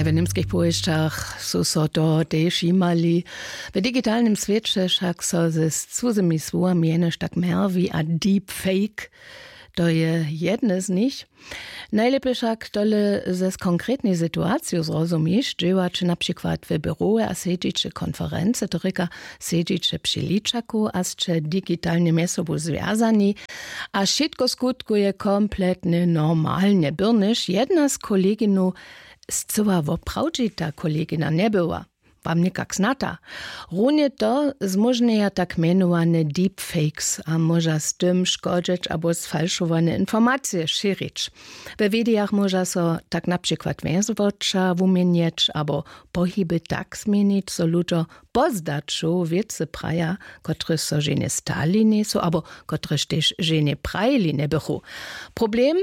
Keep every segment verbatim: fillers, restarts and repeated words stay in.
W němskich powěsćach su so to tež jimali. W digitalnym swěće wšak so z cuzymi słowami jenož tak mjerwi a deepfake, to je jedne z nich. Najlěpje wšak tole z konkretnej situaciju zrozumiš, dźěłaće na přikład w běrowe a sedźiće konferency, to rěka, sedźiće při ličaku a sće digitalnje mjez sobu zwjazani, a wšitko skutkuje kompletnje normalnje byrnyš jedna z koleginow scyła woprawdźita kolegina njebyła. Wam někak znata. Runje to zmóžnjeja tak mjenowane deepfakes a móža z tym škodźeć abo sfalšowane informacije šěrić. We widejach móža so tak na přikład wjeswoća wuměnjeć abo pohiby tak změnić zo ludźo po zdaću wěcy praja, kotryž so ženje stali njejsu abo kotryž tež ženje prajili njebychu. Problem,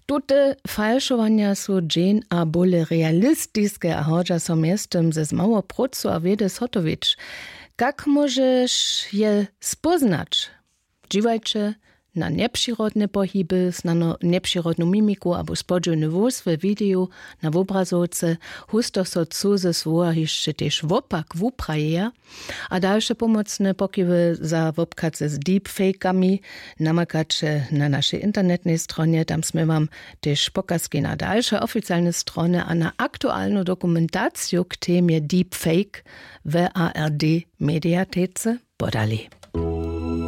tute falšowanja su dźeń a bóle realistiske a hodźa so mjeztym ze zmało prócu a wědy zhotowić. Kak móžeš je spóznać? Dźiwajće na njepřirodne pohiby, snano njepřirodnu mimiku abo spodźiwny hłós we wideju, na wobrazowce. Husto so cuze słowa hišće tež wopak wuprajeja. A dalše pomocne pokiwy za wobchadce z deepfakami namakaće na našej internetnej stronje. Tam smy wam tež pokazki na dalše oficialne strony a na aktualnu dokumentaciju k temje deepfake w ard mediatece podali.